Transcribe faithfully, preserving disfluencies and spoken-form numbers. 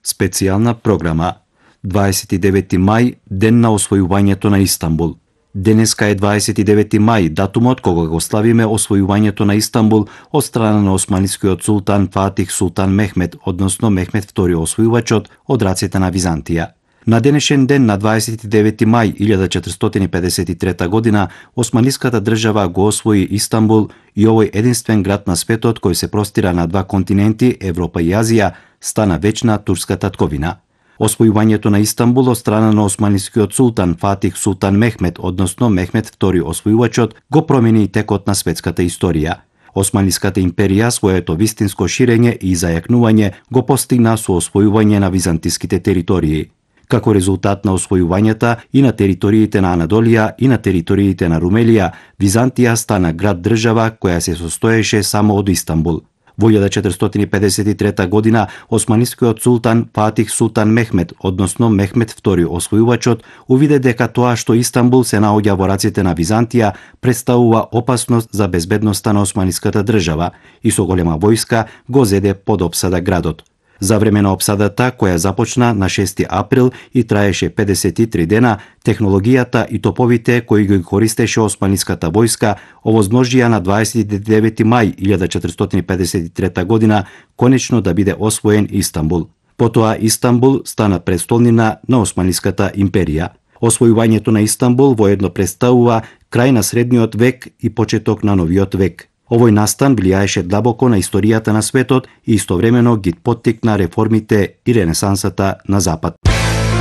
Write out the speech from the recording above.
Специјална програма. дваесет и девети мај, ден на освојувањето на Истанбул. Денеска е дваесет и девети мај, датумот кога го славиме освојувањето на Истанбул од страна на османискиот султан Фатих Султан Мехмед, односно Мехмед втори освојувачот од рацете на Византија. На денешен ден, на дваесет и девети мај илјада четиристотини и педесет и трета година, османиската држава го освои Истанбул и овој единствен град на светот кој се простира на два континенти, Европа и Азија, стана вечна турска татковина. Освојувањето на Истанбул од страна на османискиот султан Фатих Султан Мехмед, односно Мехмед втори освојувачот, го промени и текот на светската историја. Османиската империја своето вистинско ширење и зајакнување го постигна со освојување на византиските територии. Како резултат на освојувањата и на териториите на Анадолија и на териториите на Румелија, Византија стана град-држава која се состоеше само од Истанбул. Во илјада четиристотини и педесет и трета година, османискиот султан Фатих Султан Мехмед, односно Мехмед втори освојувачот, увиде дека тоа што Истанбул се наоѓа во раците на Византија представува опасност за безбедноста на османиската држава и со голема војска го зеде под опсада градот. За време на опсадата, која започна на шести април и траеше педесет и три дена, технологијата и топовите кои ги користеше османиската војска овозможија на дваесет и девети мај илјада четиристотини и педесет и трета година конечно да биде освоен Истанбул. Потоа Истанбул стана престолнина на Османиската империја. Освојувањето на Истанбул воедно представува крај на средниот век и почеток на новиот век. Овој настан влијаеше длабоко на историјата на светот и истовремено ги поттикна реформите и ренесансата на Запад.